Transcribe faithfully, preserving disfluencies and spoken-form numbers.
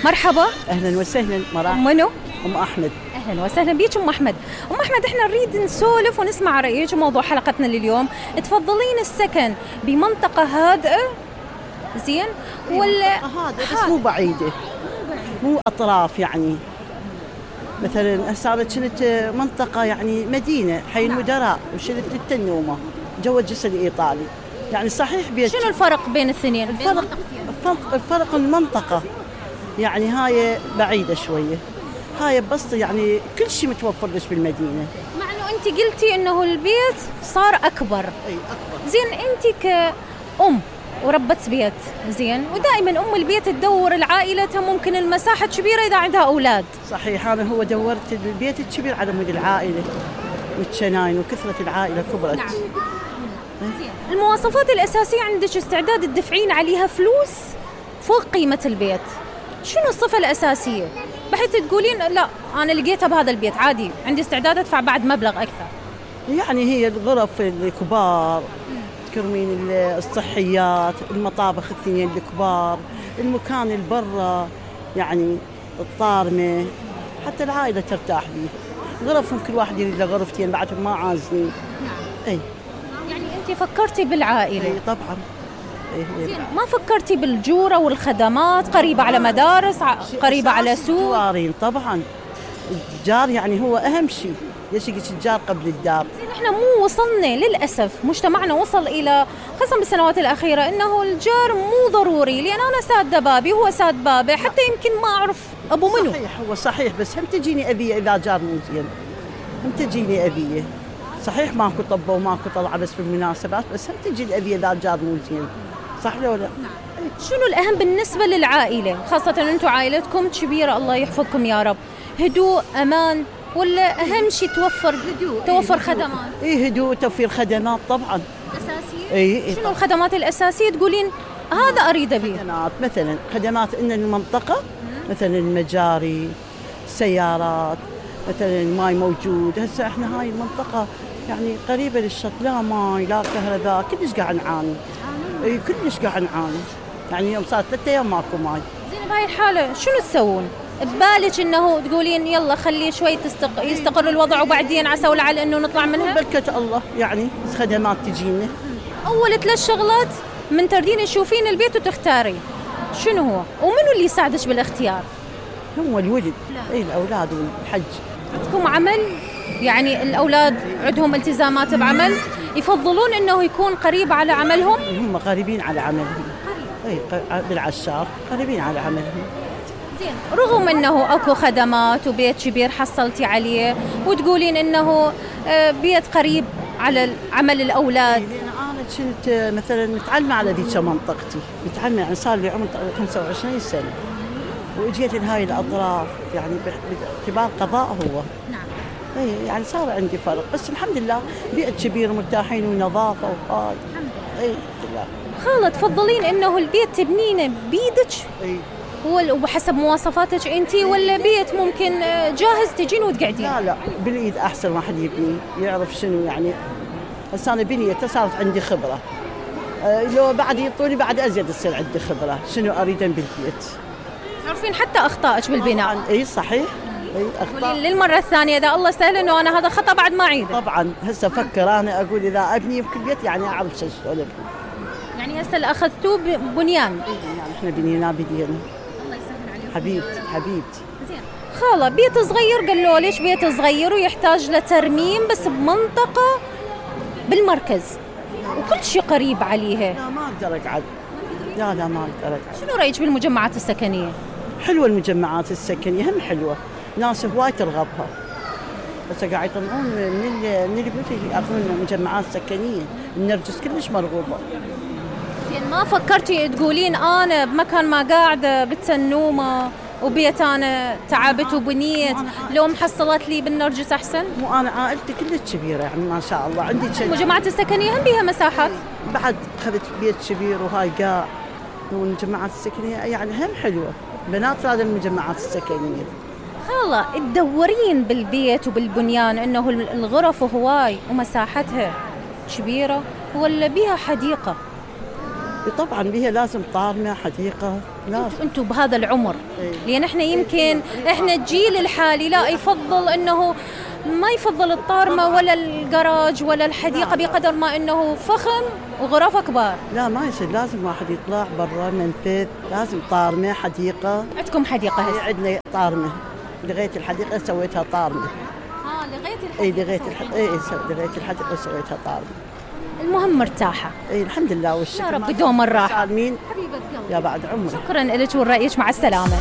مرحبا. اهلا وسهلا. مرحبا. منو؟ ام احمد. اهلا وسهلا بيك ام احمد. ام احمد احنا نريد نسولف ونسمع رايك موضوع حلقتنا لليوم. تفضلين السكن بمنطقه هادئه زين ولا هادئه بس مو بعيده، مو اطراف يعني. مثلا هسه انا كنت منطقه يعني مدينه حي المدراء وشلت التنومه جو الجسر الايطالي، يعني صحيح بيت. شنو الفرق بين الاثنين؟ الفرق الفرق, الفرق المنطقه يعني هاي بعيده شويه، هاي بسطة يعني كل شيء متوفر لك بالمدينه. مع انه انت قلتي انه البيت صار اكبر. اي اكبر. زين انت كأم وربت بيت زين، ودائما ام البيت تدور العائلتها ممكن المساحه كبيره اذا عندها اولاد. صحيح، انا هو دورت البيت الكبير على مود العائله والشناين وكثره العائله كبرت. نعم. زين المواصفات الاساسيه عندك استعداد تدفعين عليها فلوس فوق قيمه البيت، شنو الصفه الاساسيه بحيث تقولين لا انا لقيتها بهذا البيت عادي عندي استعداد ادفع بعد مبلغ اكثر؟ يعني هي الغرف الكبار، تكرمين الصحيات، المطابخ الاثنين الكبار، المكان البرة يعني الطارمة، حتى العائلة ترتاح به. غرفهم كل واحد يريد له غرفتين بعدهم ما عازلين. نعم. اي يعني انت فكرتي بالعائلة؟ اي طبعا. اي زين ما فكرتي بالجورة والخدمات قريبة على مدارس قريبة على سوق؟ جارين طبعا، الجار يعني هو اهم شيء، ليش يجيك الجار قبل الدار؟ احنا مو وصلنا للاسف، مجتمعنا وصل الى خاصه بالسنوات الاخيره انه الجار مو ضروري، لان انا ساده بابي هو ساد بابي، حتى يمكن ما اعرف ابو منو. صحيح هو صحيح، بس هم تجيني ابيه اذا جار مو زين، هم تجيني ابيه. صحيح ماكو طبه وماكو طلعه بس بالمناسبات، بس هم تجي الابيه اذا جار مو زين، صح ولا لا؟ شنو الاهم بالنسبه للعائله، خاصه انتم عائلتكم كبيره الله يحفظكم يا رب؟ هدوء، امان، ولا اهم شيء توفر هدوء توفر إيه خدمات؟ اي هدوء، توفير خدمات طبعا اساسيه. اي إيه شنو طبعًا. الخدمات الاساسيه تقولين هذا اريد ابيه؟ خدمات مثلا خدمات ان المنطقه مثلا المجاري، السيارات، مثلا الماي موجود. هسه احنا هاي المنطقه يعني قريبه للشط، لا ماي لا كهرباء، كلش قاعد نعاني. اي كلش قاعد نعاني، يعني يوم صار ثلاثة ايام ماكو ماي. زين بهاي الحاله شنو تسوون؟ ببالك انه تقولين يلا خليه شوي تستق... يستقر الوضع وبعدين عسى ولعل انه نطلع منها؟ بركة الله يعني خدمات تجينا. اول ثلاث شغلات من تردين تشوفين البيت وتختاري شنو هو؟ ومنو اللي يساعدك بالاختيار؟ هو الولد. اي الاولاد والحج. عندكم عمل؟ يعني الاولاد عندهم التزامات بعمل، يفضلون انه يكون قريب على عملهم؟ هم قريبين على عملهم. اي بالعشار قريبين على عملهم. زين رغم انه اكو خدمات وبيت كبير حصلتي عليه وتقولين انه بيت قريب على عمل الاولاد. انا كنت مثلا متعلمه على ذيك منطقتي، متعلمه يعني صار لي عمر خمسة وعشرين سنه واجيت لهاي الاطراف، يعني باعتبار قضاء هو. نعم. اي يعني صار عندي فرق، بس الحمد لله بيت كبير ومرتاحين ونظافه وهاي. اي لا خالة تفضلين انه البيت تبنينه بيدك؟ اي وحسب مواصفاتك انت، ولا بيت ممكن جاهز تجين وتقعدين؟ لا لا بالايد احسن، واحد يبني يعرف شنو يعني. هسه انا بنيته صارت عندي خبره، أه لو بعد يطولي بعد ازيد تصير عندي خبره شنو اريد بالبيت. تعرفين حتى اخطائك بالبناء. اي صحيح. اي اخطاء للمره الثانيه اذا الله سهل انه انا هذا خطا بعد ما اعيده. طبعا هسه افكر انا اقول اذا ابني بكل بيت يعني اعرف شو ابني. يعني هسه اللي اخذتوه بنيان. يعني احنا بنينا بدينا. الله يسهل عليكم حبيبتي حبيبتي. زين خاله بيت صغير قالوا ليش بيت صغير ويحتاج لترميم بس بمنطقه بالمركز وكل شيء قريب عليها. لا ما اقدر اقعد. لا لا ما اقدر اقعد. شنو رايك بالمجمعات السكنيه؟ حلوه المجمعات السكنيه، هم حلوه، ناس هواي ترغبها، بس قاعد يطلعون من من البيوت ياخذون المجمعات السكنيه، النرجس كلش مرغوبه. زين ما فكرتي تقولين انا بمكان ما قاعده بالتنومه وبيت انا تعبت وبنيت لو محصلت لي بالنرجس احسن؟ مو انا عائلتي كلش كبيره يعني ما شاء الله، عندي المجمعات السكنيه هم بيها مساحات. بعد اخذت بيت كبير وهاي قاع، والمجمعات السكنيه يعني هم حلوه، بنات هذا المجمعات السكنيه. خاله تدورين بالبيت وبالبنيان انه الغرف هواي ومساحتها كبيره ولا بيها حديقه؟ طبعا بيها لازم طارمه حديقه. لازم. انتم بهذا العمر، إيه. لان احنا يمكن احنا الجيل الحالي لا يفضل انه ما يفضل الطارمه ولا الجراج ولا الحديقه بقدر ما انه فخم وغرفه كبار. لا ما يصير، لازم واحد يطلع برا منفذ، لازم طارمه حديقه. عندكم حديقه هسه؟ عندنا طارمه، لغايه الحديقه سويتها طارمه. اه لغايه الحديقه. اي لغايه الحديقه، اي لغايه الحديقه سويتها طارمه. المهم مرتاحه. اي الحمد لله والشكر. يا رب دوم الراحه. سالمين حبيبه قلبي. يا بعد عمرك. شكرا لك ورأيك، مع السلامه.